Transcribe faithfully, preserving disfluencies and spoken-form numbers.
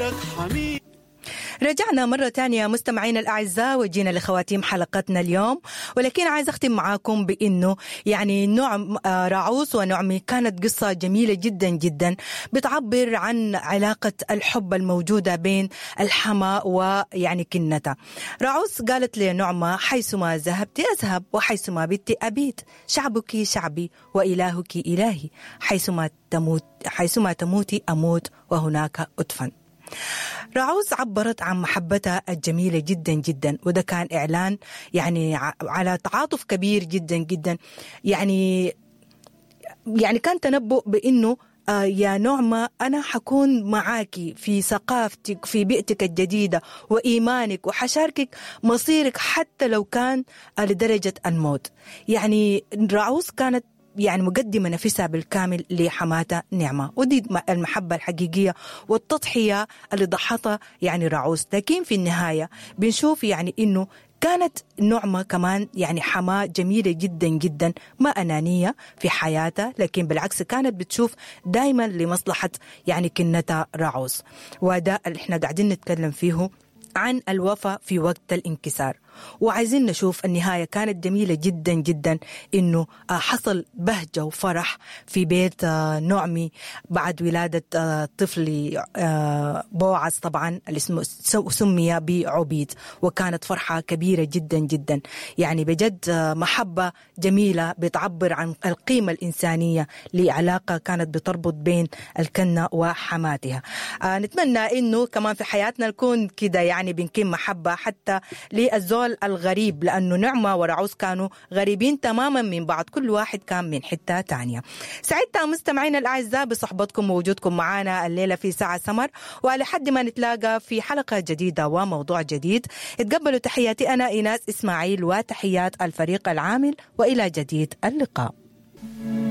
خيرك حميد. رجعنا مرة تانية مستمعينا الأعزاء وجينا لخواتيم حلقتنا اليوم، ولكن عايز أختم معاكم بأنه يعني نعم راعوس ونعمي كانت قصة جميلة جدا جدا بتعبر عن علاقة الحب الموجودة بين الحما ويعني كنتها. راعوس قالت لنعمة حيثما ذهبت أذهب وحيثما بت أبيت، شعبك شعبي وإلهك إلهي، حيثما تموت حيثما تموتي أموت وهناك أدفن. راعوس عبرت عن محبتها الجميلة جدا جدا، وده كان إعلان يعني على تعاطف كبير جدا جدا، يعني يعني كان تنبؤ بأنه آه يا نعمة أنا حكون معاكي في ثقافتك في بيئتك الجديدة وإيمانك، وحشاركك مصيرك حتى لو كان آه لدرجة الموت. يعني راعوس كانت يعني مقدمة نفسها بالكامل لحماتها نعمة، ودي المحبة الحقيقية والتضحية اللي ضحتها يعني راعوس. لكن في النهاية بنشوف يعني إنه كانت نعمة كمان يعني حماة جميلة جدا جدا، ما أنانية في حياتها، لكن بالعكس كانت بتشوف دايما لمصلحة يعني كنتها راعوس. وده اللي احنا قاعدين نتكلم فيه عن الوفاء في وقت الانكسار. وعايزين نشوف النهاية كانت جميلة جدا جدا، إنه حصل بهجة وفرح في بيت نعمي بعد ولادة طفل بوعز طبعا اللي اسمه سمي بعبيد، وكانت فرحة كبيرة جدا جدا. يعني بجد محبة جميلة بتعبر عن القيمة الإنسانية لعلاقة كانت بتربط بين الكنة وحماتها. نتمنى إنه كمان في حياتنا نكون كده يعني بنكون محبة حتى للزول الغريب، لأنه نعمة ورعوس كانوا غريبين تماما من بعض، كل واحد كان من حتة تانية. سعدت مستمعينا الأعزاء بصحبتكم ووجودكم معنا الليلة في ساعة سمر، ولحد ما نتلاقى في حلقة جديدة وموضوع جديد، اتقبلوا تحياتي أنا إيناس إسماعيل وتحيات الفريق العامل، وإلى جديد اللقاء.